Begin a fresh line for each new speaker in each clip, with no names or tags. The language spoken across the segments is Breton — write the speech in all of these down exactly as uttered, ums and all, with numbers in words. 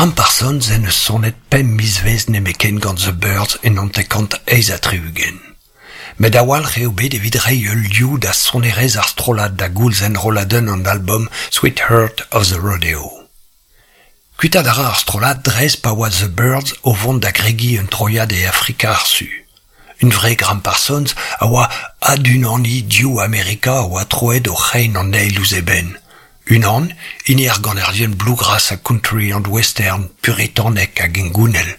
Gram Parsons en deus sonet pemp mizvezh nemetken gant The Byrds en hanter-kant eizh ha tri-ugent. Met a-walc'h eo bet evit reiñ ul liv da sonerezh ar strollad da goulz enrolladenn an album Sweetheart of the Rodeo. Kuitaat a ra ar strollad dres pa oa The Byrds o vont da gregiñ un troiad e Afrika ar Su. Hunvre Gram Parsons a oa adunaniñ div Amerika a oa troet o c'hein an eil ouzh eben. Unan, hini ar ganerien bluegrass ha country and western puritanek hag hengounel,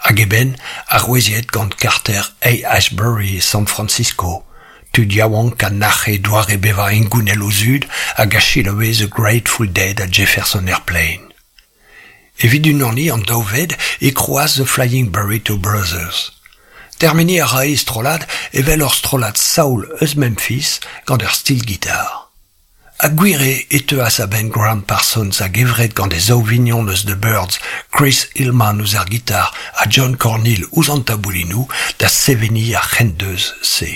hag eben aroueziet gant karter Haight-Ashbury e San Francisco, tud yaouank a nac'he doare bevañ hengounel o zud hag a selaoue The Grateful Dead ha Jefferson Airplane. Evit unaniñ an daou ved e krouas The Flying Burrito Brothers. Termeniñ a rae e strollad evel ur strollad soul eus Memphis gant ur steel guitar. Ha gwir eo e teuas a-benn Gram Parsons a-gevret gant e zaou vignon eus The Byrds, Chris Hillman ouzh ar gitar ha John Corneal ouzh an taboulinoù da seveniñ ar c'hendeuz-se.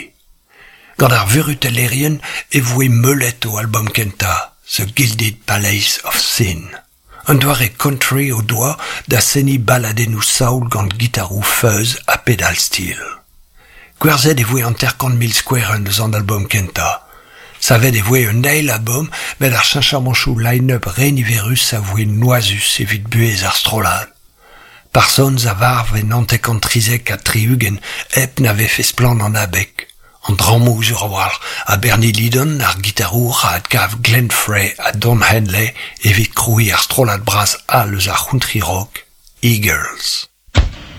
Gant ar vurutellerien e voe meulet o album kentañ, The Gilded Palace of Sin. Un doare country o doa da seniñ baladennoù soul gant gitaroù fuzz ha pedal steel. Gwerzhet e voe hanter-kant mil skouerenn eus an album kentañ. Savet e voe un eil album met ar cheñchamantoù line-up re niverus a voe noazus evit buhez ar strollad. Parsons a varv en hanter-kant trizek ha tri-ugent hep na vefe splann an abeg. An drammoù sur a-walc'h ha Bernie Leadon, ar gitarour a adkav Glenn Frey ha Don Henley evit krouiñ ar strollad bras all eus ar country rock, Eagles.